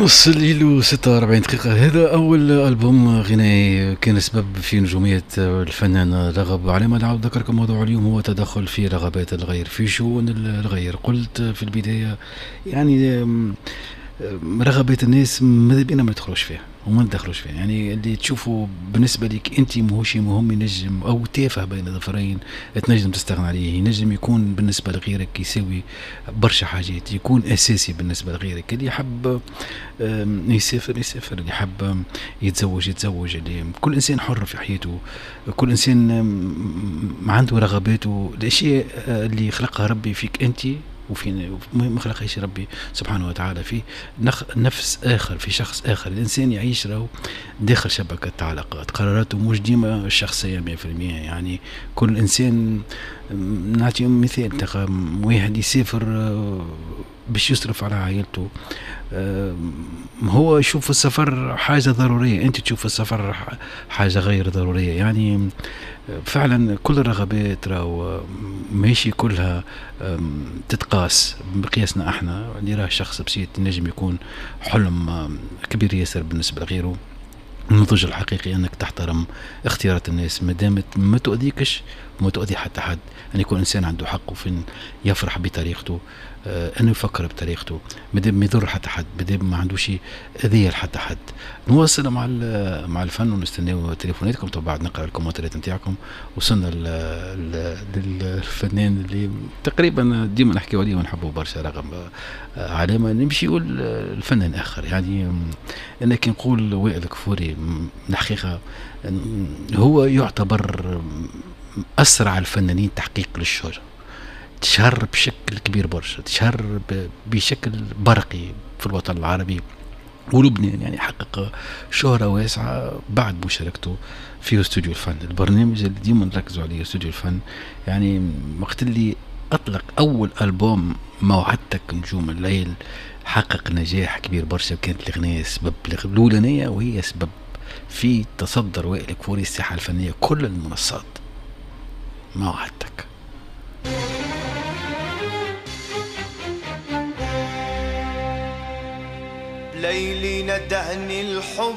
نص الليل و46 دقيقة. هذا أول ألبوم غنائي كان سبب في نجومية الفنان رغب. على ما نعاود ذكركم موضوع اليوم هو تدخل في رغبات الغير، في شؤون الغير. قلت في البداية يعني رغبات الناس ماذا بينا ما ندخلوش فيها وما ندخلوش فيها، يعني اللي تشوفه بالنسبة لك أنت ماهوش مهم ينجم أو تافه بين ظفرين تنجم تستغنى عليه، ينجم يكون بالنسبة لغيرك يساوي برشا حاجات، يكون أساسي بالنسبة لغيرك. اللي يحب يسافر يسافر، اللي يحب يتزوج يتزوج، اللي كل إنسان حر في حياته، كل إنسان عنده رغباته، الأشياء اللي خلقها ربي فيك أنت وفي ما خلقهاش ربي سبحانه وتعالى في نفس آخر، في شخص آخر. الإنسان يعيش راهو داخل شبكة علاقات، قراراته مش ديما الشخصية 100%. يعني كل إنسان، نعطي مثال، واحد يسافر باش يصرف على عائلته، هو يشوف السفر حاجة ضرورية، أنت تشوف السفر حاجة غير ضرورية. يعني فعلا كل الرغبات راهو ماشي كلها تتقاس بقياسنا احنا. اللي راه شخص بسيط ينجم يكون حلم كبير ياسر بالنسبة لغيره. النضج الحقيقي انك تحترم اختيارات الناس ما دامت ما تؤذيكش وما تؤذي حتى حد. ان يكون انسان عنده حقه في يفرح بطريقته، انه يفكر بطريقته، ما دام ما يضر حتى حد، ما دام ما عندوش اذيه لحتى حد. نواصل مع الفن ونستناو تليفوناتكم، طبعا بعد نقرا الكومنتات نتاعكم. وصلنا للفنان اللي تقريبا ديما نحكيو عليه ونحبوه برشا رغم علامة، نمشيو للفنان اخر. يعني انا كي نقول وائل كفوري الحقيقة هو يعتبر اسرع الفنانين تحقيق للشهره، تشهر بشكل كبير برشا، تشهر بشكل برقي في الوطن العربي ولبنان، يعني حقق شهرة واسعة بعد مشاركته في استوديو الفن، البرنامج اللي ديما نركزوا عليه استوديو الفن. يعني وقت اللي أطلق أول ألبوم ما وعدتك نجوم الليل حقق نجاح كبير برشا، وكانت الأغنية سبب الأولانية وهي سبب في تصدر وائل كفوري الساحة الفنية كل المنصات. ما وعدتك. ليلي ندهني الحب